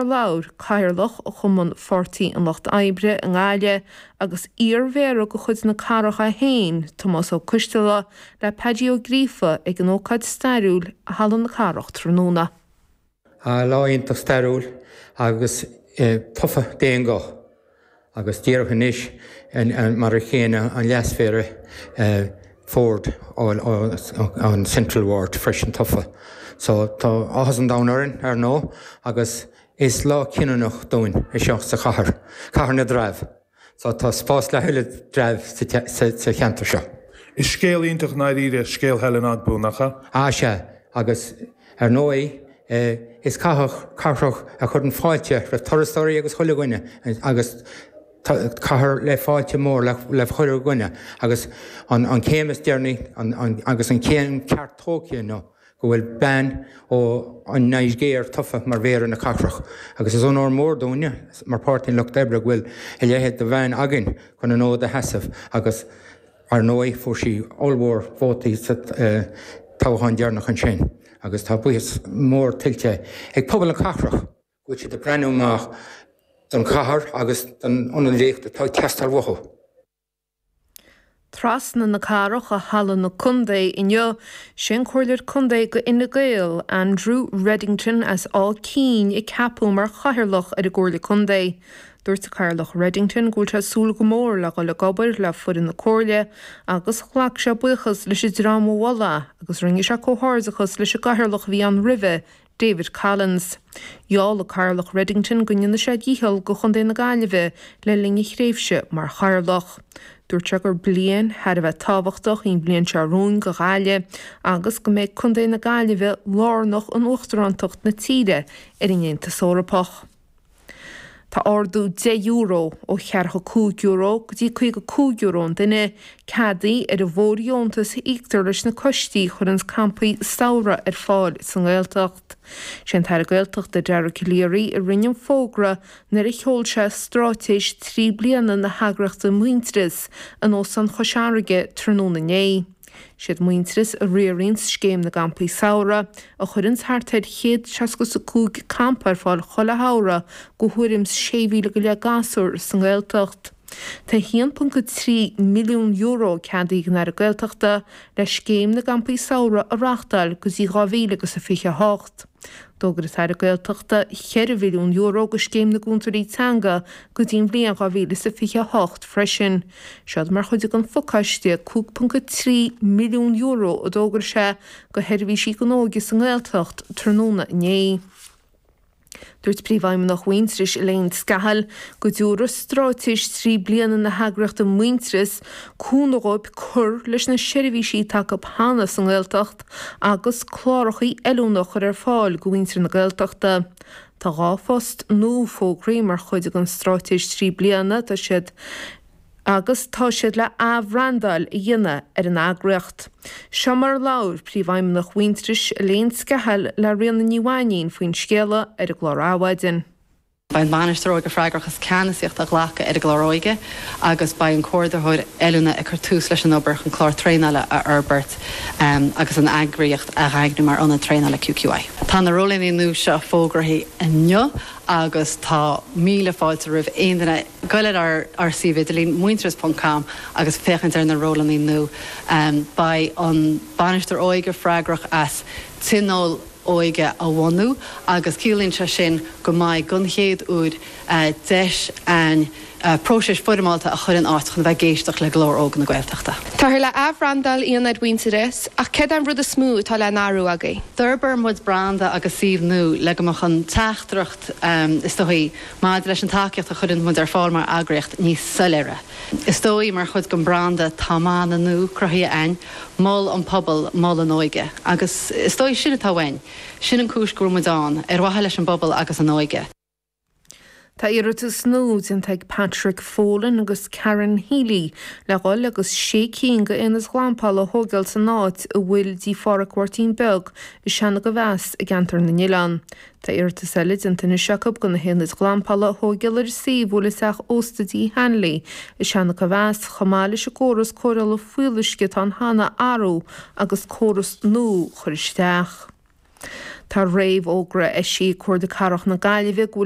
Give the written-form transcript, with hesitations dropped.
mar a labhair Cathaoirleach Chumann Pháirtí an Lucht Oibre i nGaillimh agus iar-mhéara de chuid na cathrach é féin, Tomás Ó Coistealbha, le Paddy Ó Gríofa ag an ócáid stairiúil i Halla na Cathrach tráthnóna. Lá iontach stairiúil agus tofa d'aon ghuth agus díreach anois mar a chéanna an leasmhéara Ford ón Central Ward freisin tofa. So tá áthas an domhain orainn ar ndóigh agus is lá cinniúnach dúinn é seo sa chathair, Cathair na dTreabh. So tá spás le thuilleadh dtreabh sa cheantar seo. Is scéal iontach i ndáiríre scéal Helen Ogbu, nach ea? Ah sea, agus ar ndóigh is cathair cathrach a chuireann fáilte roimh turasóirí agus chuile dhuine agus cathair le fáilte mór le chuile dhuine agus an chéim is deireanaí agus an chéim ceart tógtha inniu go bhfuil bean ó an Nigéir tofa mar Mhéara na cathrach agus is onóir mór dúinne mar Páirtí an Lucht Oibre go bhfuil a leithéid de bhean againn chun an fhód a sheasamh agus ar ndóigh fuair sí ollmhór vótaí sa toghchán deireanach ansin agus tá buíochas mór tuillte ag pobal na cathrach go bhfuil siad ag breathnú amach don chathair agus don ionadaíocht atá ag teastáil uathu. Trasna na cathrach i Halla na Contae inniu, sé an Comhairleoir Contae go Fhine Gael, Andrew Reddington as Áth Cinn a ceapadh mar Chathaoirleach ar an gComhairle Contae. Dúirt an Cathaoirleach Reddington go bhfuil sé ag súil go mór le dhul ag obair le foireann na Comhairle agus ghlac sé buíochas leis an dream a mhol é agus rinne sé comhghairdeachas leis an gCathaoirleach a bhí ann roimhe, David Collins. Gheall an Cathaoirleach Reddington go ndéanfaidh sé a dhícheall go Chontae na Gaillimhe le linn a thréimhse mar Chathaoirleach. Dúirt sé gur bliain thar a bheith tábhachtach í an bhliain seo romhainn go Ghaillimh agus go mbeidh Contae na Gaillimhe lárnach in uachtarántacht na tíre ar an Aontas Eorpach. Tá ardú €10, ó €45 go dtí €55 an duine, ceadaithe ar an bhfóirdheontas a íoctar leis na coistí a chuireanns campaí samhraidh ar fáil sa nGaeltacht. Sé an tAire Gaeltachta Dara Calleary a rinne an fógra nuair a sheol sé stráitéis 3 bliana na heagraíochta Muintearas in Óstán Chois Fharraige tráthnóna inné. Siad Muintearas a riaranns Scéim na gCampaí Samhraidh, a chuireanns thart ar 165 campa ar fáil chuile shamhradh go thuairim 's 6,000 go leith gasúr sa nGaeltacht. Tá €1.3 milliún ceadaithe ag an Aire Gaeltachta le Scéim na gCampaí Samhraidh a reachtáil go dtí 2028. D'fhógair an tAire Gaeltachta €4 mhilliún go Scéim na gCúntóirí Teanga go dtí an bhliain 2028 freisin. Seod mar chuid den phacáiste €5.3 milliún a d'fhógair sé go sheirbhísí don óige sa nGaeltacht tráthnóna inné. Dúirt Príomhfheidhmeannach Mhuintearais, Elaine Scahill, go dtabharfaidh stráitéis 3 bliana na heagraíochta Muintearas cúnamh dhóibh cur leis na seirbhísí atá acu cheana sa nGaeltacht agus clárachaí oiliúna a chur ar fáil go mhuintir na Gaeltachta. Tá 2 phost nua fógraithe mar chuid den stráitéis 3 bliana, tá siad agus tá siad le athbhrandáil a dhéanamh ar an eagraíocht. Seo mar a labhair Príomhfheidhmeannach Mhuintearais, Elaine Scahill le Ríona Ní Mhainín faoin scéala ar an gclár Adhmhaidin. Beidh an Bainisteoir Óige freagrach as ceannasaíocht a ghlacadh ar an gclár óige agus beidh an Comhordaitheoir Oiliúna ag cur tús leis an obair chun clár traenála a fhorbairt agus an eagraíocht a dhaingniú mar ionad traenála QQI. Tá na rólanna nua seo fógraithe inniu agus tá míle fáilte roimh aon duine goil ar ár suíomh idirlín, muintearas ponc com agus féachaint ar na rólanna nua. Beidh an Bainisteoir Óige freagrach as tionól óige a bhunú agus ciallaíonn sé sin go mbeidh, don chéad uair, deis a'inn próiseas foirmeálta a chur in áit chun a bheith ag éisteacht le glór óg na Gaeltachta. Táthar le athbhrandáil Ionaid Mhuintearais, ach céard é an rud is mó atá le n-athrú agaibh? D'fhorbair muid branda agus suíomh nua le go mbeadh an teachtaireacht, is dóigh, maidir leis an tacaíocht a chuireann muid ar fáil mar eagraíocht níos soiléire. Is dóigh, mar chuid den branda, tá mana nua cruthaithe a'inn, Mol an pobal, mol an óige. Agus is dóigh sin atá uainn. Sin an cúis go bhfuil muid ann, ar mhaithe leis an bpobal agus an óige. Tá iarratas nua déanta ag Patrick Folan agus Karen Healy le dhul agus sé cinn de aonaid ghlampála a thóigeáil san áit a bhfuil dtí Phádhraic Mháirtín Beag i Seanadh Mheas i gceantar na nOileán. Tá iarratas eile déanta anois acu do na haonaid ghlampála a thóigeáil ar an suíomh a bhfuil an teach ósta Dí Hanley i Seancha Mheas chomh maith leis an gcóras cóireála fuíolluisce atá ann cheana a athrú agus córas nua a chur isteach. Tá réamhfhógra eisithe ag Comhairle Cathrach na Gaillimhe go bhfuil.